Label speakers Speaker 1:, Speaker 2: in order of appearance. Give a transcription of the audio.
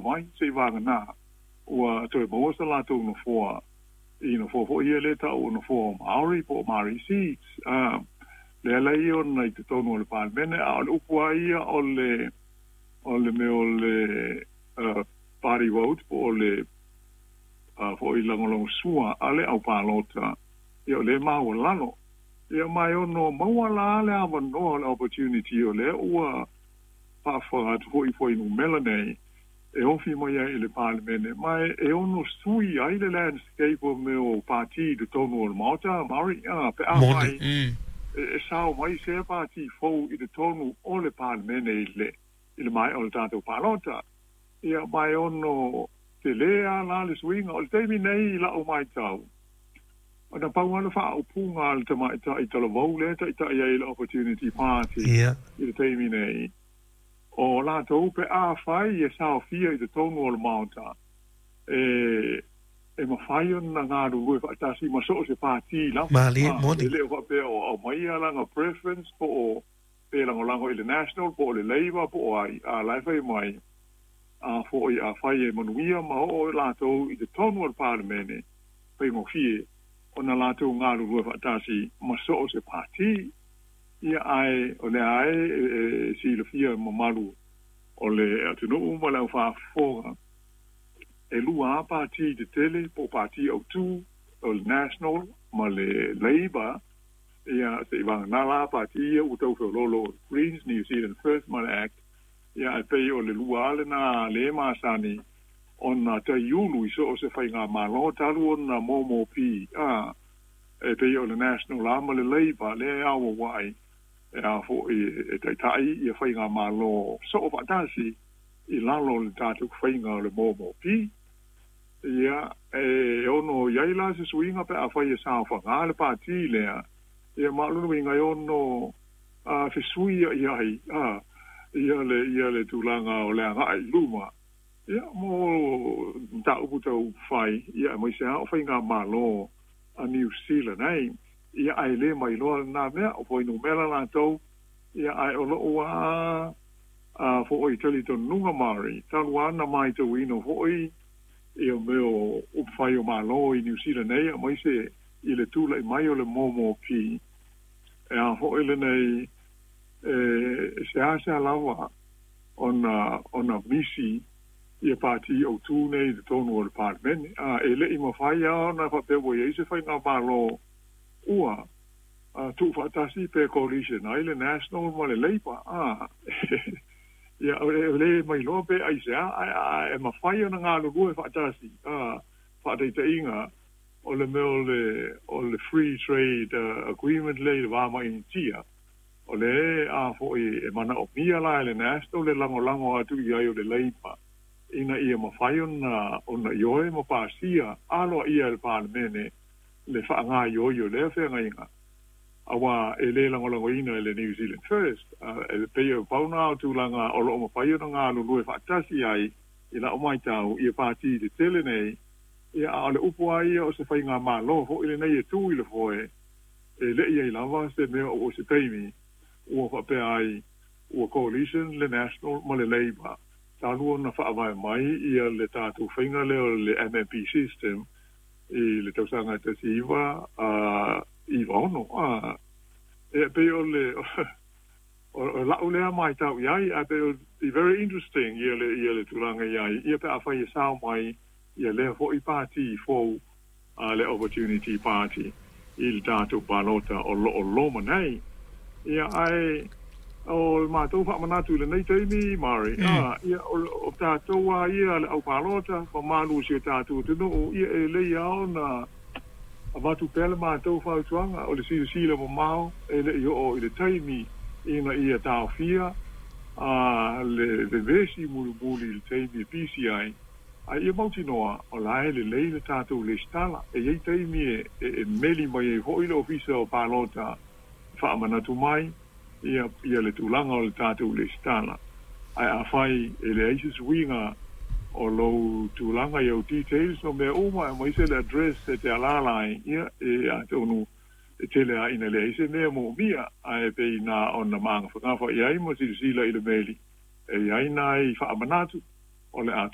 Speaker 1: sao mai se'i vagana ua toe maua sa latou nofoa i nofoa foi ia lea e ta'u o nofoa o Māori po o Māori seats, le ala ia ona i totonu o le Palemene. A o le upu lava ia o le o le mea o le party vote po o le foi lagolagosua a le au palota, ia o lea e maualalo. Ia ma e ono maua la le avanoa o le opportunity o lea ua faafofoga atu foi i fuainumera nei e ofi mai ai i le Palemene, ma e ono sui ai le landscape o mea o pati i totonu o le Maota, Māori, pe afai e sao mai sea pati fou i totonu o le Palemene i le maea o le tatou palota. Ia, ma e ono tele lava la le suiga. O le taimi nei i la'u matau, na pau lava le faaupuga a le tamaitai talavou lea e taitai ai i le Opportunity Party i le taimi nei, o latou pe afai e saofia i totonu o le Maota, e mafai ona galulue faatasi ma so o se pati lava.
Speaker 2: Malie, moni.
Speaker 1: E le o faapea o aumaia lana preference po o pe lagolago i le National po o le Labour po o ai, a la e fai mai a foi afai e manuia ma oo latou i totonu o le Palemene, faigofie ona latou galulue faatasi ma so o se pati. Ia, ae o lea e silafia e mamalu o le atunuu ma le au faafofoga, e lua lava pati tetele po o pati autū, o le National ma le Labour. Ia, se'i vagana la pati ia ua tau feoloolo, o le Greens, New Zealand First ma le Act. Ia, ae pei o le lua lava lenā lē masani ona taiulu i so o se faigamālō talu ona MMP, a e pei o le National lava ma le Labour lea e auauai e a foi e taita'i ia faigamālō soo faatasi i lalo o le tatou faiga o le MMP. Ia, e ono i ai la se suiga pe afai e saofagā le pati lea. Ia, ma o lona uiga e ono fesuia'i ai a ia le tulaga o le aga'i i luma, ia, mo mataupu tau fai, ia, aemaise lava o faigamālō a New Zealand ai. Ia, ae lē mailoa lenā mea o fuainumera latou. Ia, ae o lo'u a fo'i talitonuga, Mari, talu ana matauina fo'i ia mea o upufai o Malo i New Zealand nei, aemaise i le tula'i mai o le MMP e a fo'i lenei, e seasea lava ona misi ia pati autū nei i totonu o le Palemene. A e le'i mafai a ona faapea ua iai se faigamālō ua tuufaatasi pe coalition ai le National ma le Labour. A ia, o le mailoa pe aisea, ae e mafai ona galulue faatasi. A faataitaiga o le mea o le free trade agreement le i le va ma Initia, o le a fo'i e manaomia la e le National le lagolago atu i ai o le Labour ina ia mafai ona ioe ma pasia aloaia e le Palemene le faagaioio lea feagaiga, auā e lē lagolagoina e le New Zealand First. E pei e pau na o tulaga o lo'o mafai ona galulue faatasi ai i la'u matau ia pati tetele nei. Ia, a o le upu a ia o se faigamālō fo'i lenei e tū i le foe, e le'i ai lava se mea o se taimi ua faapea ai ua coalition le National ma le Labour talu ona faavae mai ia le tatou faiga lea o le MMP system i le tausaga 1996. A e pei o le o la'u lea matau i ai, ae pei o very interesting ia le tulaga i ai ia pe afai e sao mai ia lea fo'i pati fou a le Opportunity Party i le tatou palota o lo'o loma nei. Ia, ae o le matou faamanatu i lenei taimi, Mari, a ia o tatou a ia le au palota mamalu o si o tatou atunuu, ia, e lei a ona avatu pea le matou fautuaga o le silasila mamao e le'i oo i le taimi ina ia taofia a le vevesi mulimuli i le taimi e pisi ai. A ia mautinoa o la e lelei le tatou lesitala. E iai taimi e meli mai ai fo'i le ofisa o palota faamanatu mai ia le tulaga o le tatou lesitala. Ae afai e leai se suiga o lou tulaga i au details ma mea uma aemaise le address e te alala ai, ia, e atonu e tele a ina leai se mea moomia, ae pei na ona magafagafa i ai ma silasila i le meli e iai nai faamanatu o le a.